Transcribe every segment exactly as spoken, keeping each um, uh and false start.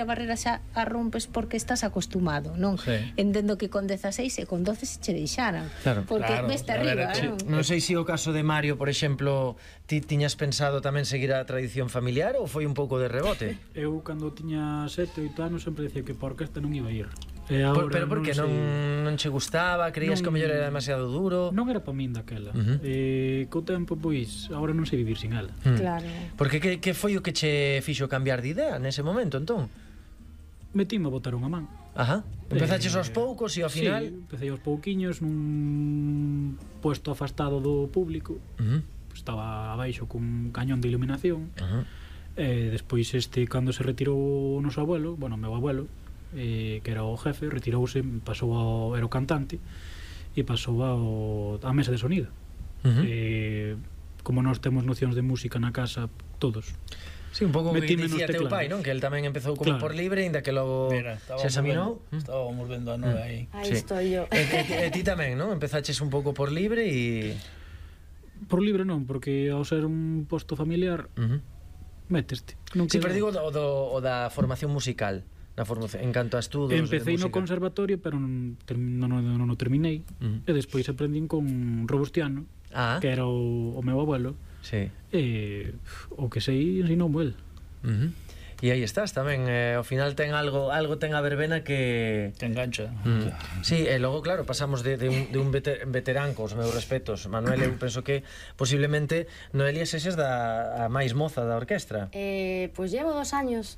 a barrera xa a rompes porque estás acostumado, non? Sí. Entendo que con dezaseis e con doce se che deixaran. Claro. Porque Claro, veste a ver, arriba, sí. non? Non sei se o caso de Mario, por exemplo, ti tiñas pensado tamén seguir a tradición familiar ou foi un pouco de rebote? Eu, cando tiña sete, oito anos, sempre decía que por orquesta non iba a ir. E Por, agora pero por que non, sei. non che gustaba? Creías Non- que o mellor era demasiado duro? Non era pa min daquela. Ujú. E co tempo, pois, agora non sei vivir sin ela. Mm. Claro. Porque que, que foi o que che fixo cambiar de idea nese momento, entón? Metíme a botar unha man. Ajá. Empezaches Eh, aos poucos e ao final... Sí, empecé aos pouquiños nun puesto afastado do público. Uh -huh. Estaba abaixo cun cañón de iluminación. Uh -huh. E despois, este, cando se retirou o noso abuelo, bueno, o meu abuelo, eh, que era o jefe, retirouse, pasou ao, era o cantante, e pasou ao, á mesa de sonido. Uh -huh. Eh, como nós temos nocións de música na casa, todos. Sí, un pouco o que Metíme nos dicía teu teclados. pai, non? Que el tamén empezou como Claro. por libre, ainda que logo Mira, se examinou. vendo, estábamos vendo a nove aí. Aí Sí. estoy yo. E, e, e ti tamén, non? Empezaches un pouco por libre e... Por libre non, porque ao ser un posto familiar, Uh -huh. méteste. Non Sí, queda- pero digo o, do, o da formación musical, na formación, en canto a estudos Empecé de no música. conservatorio, pero non, term- non, non, non o terminei. Uh -huh. E despois aprendín con Robustiano, Ah, que era o, o meu abuelo, sí. e o que sei ensinoumo el. Uh -huh. E aí estás tamén, eh, ao final ten algo algo ten a verbena que... Te engancha. Mm. Sí, e logo, claro, pasamos de, de un, de un veter, veterán cos meus respetos. Manuel, eu penso que posiblemente Noelia seses da a máis moza da orquestra. Eh, pois llevo dos años.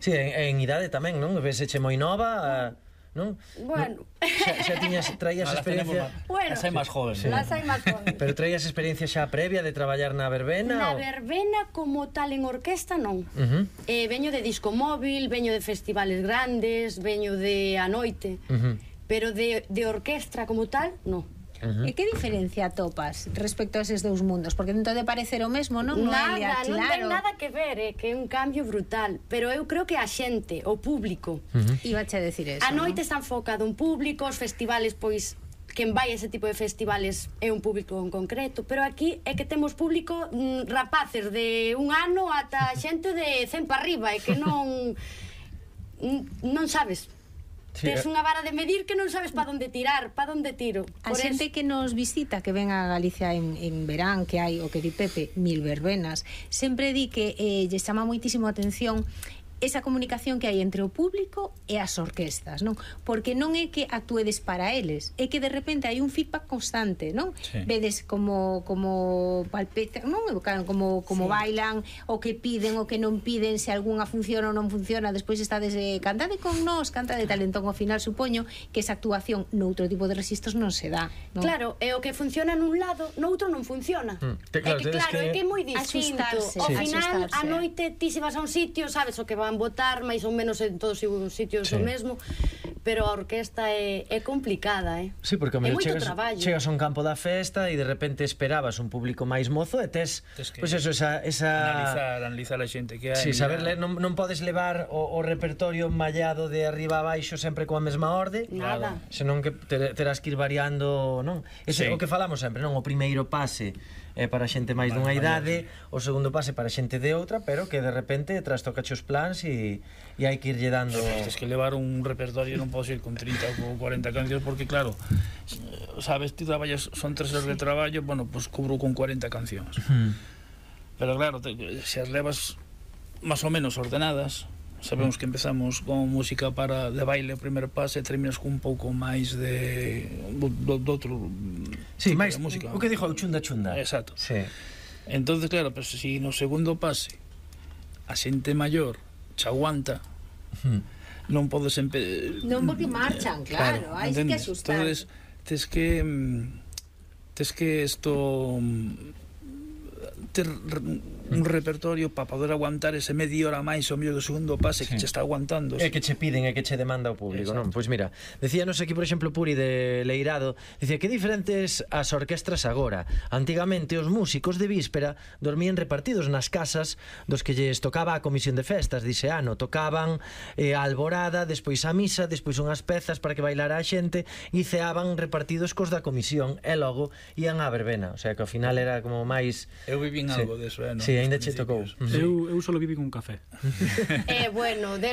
Sí, en, en idade tamén, non? Veseche moi nova, non? Bueno. Xa, xa tiñas, traías Ahora experiencia... tenemos Bueno. Las hai máis jóvenes. Sí. Las hai máis jóvenes. Pero traías experiencia xa previa de traballar na verbena? Na ou- verbena como tal en orquesta non. Uh -huh. Eh, veño de disco móvil, veño de festivales grandes, veño de a noite, Uh -huh. pero de, de orquestra como tal, non. Uh -huh. E que diferencia atopas respecto a eses dous mundos? Porque non te de parecer o mesmo, non? Noelia, Nada, non ten claro. nada que ver, é que é un cambio brutal, pero eu creo que a xente, o público, Uh -huh. Ibache a decir eso, a noite non? está enfocado un público, os festivales, pois, quen vai a ese tipo de festivales é un público en concreto, pero aquí é que temos público mm, rapaces de un ano ata xente de cen para arriba, e que non non sabes. Sí, Tes eh. unha vara de medir que non sabes pa onde tirar, pa onde tiro. A Por xente eso- que nos visita, que ven a Galicia en, en verán, que hai o que di Pepe, mil verbenas, sempre di que eh, lle chama moitísimo a atención esa comunicación que hai entre o público e as orquestas, non? Porque non é que actuedes para eles, é que de repente hai un feedback constante, non? Sí. Vedes como como palpeta, non? Como como Sí. bailan, o que piden, o que non piden, se algunha funciona ou non funciona, despois estades eh, cantade con nós, canta de talentón, ao final supoño que esa actuación noutro tipo de registros non se dá, non? Claro, e o que funciona nun lado, noutro non funciona. Mm, te- É claro, que tedes claro, que é que é moi distinto. axustarse, Ao Sí. final, axustarse. a noite ti se vas a un sitio, sabes o que van votar, máis ou menos en todos os sitios Sí. o mesmo, pero a orquesta é, é complicada, eh? Sí, porque É mellor moito chegas, traballo. chegas a un campo da festa e de repente esperabas un público máis mozo e tes, Tes que pois pues eso, esa, esa... Analizar, analizar a xente que hai. Sí, saber mirar. ler, non, non podes levar o, o repertorio mallado de arriba a baixo sempre coa mesma orde, Nada. senón que te, terás que ir variando, non? Ese Sí. o que falamos sempre, non? O primeiro pase é para xente máis Vale, dunha vale, idade, o segundo pase para xente de outra, pero que de repente trastocache os plans e, e hai que irlle dando... Tens que levar un repertorio, non podes ir con trinta ou cuarenta cancións, porque claro, sabes, ti traballas, son tres horas de traballo, bueno, pues cubro con cuarenta cancións. Hmm. Pero claro, te, se as levas máis ou menos ordenadas, sabemos que empezamos con música para de baile o primeiro pase e terminas con un pouco máis de do, do, do outro Sí, tipo máis de música. o que dixo o chunda chunda. Exacto. Sí. Entonces, claro, pero si no segundo pase a xente maior che aguanta, Hmm. non podes empe... Non porque marchan, claro, hai que entendes? axustar. Entonces, tes que mm, tes que esto mm, ter un repertorio para poder aguantar ese media hora máis o mellor do segundo pase que Sí. che está aguantando. É que che piden, é que che demanda o público, Exacto. non? Pois mira, decíanos aquí, por exemplo, Puri de Leirado, dicía que diferentes as orquestras agora. Antigamente os músicos de víspera dormían repartidos nas casas dos que lles tocaba a comisión de festas, dice ano, tocaban eh, a alborada, despois a misa, despois unhas pezas para que bailara a xente e ceaban repartidos cos da comisión e logo ían á verbena, o sea que ao final era como máis... Eu vivín Sí. algo deso, eh, no? Sí, ainda che tocou. Principios. Eu, eu solo viví con café. Eh, bueno, deron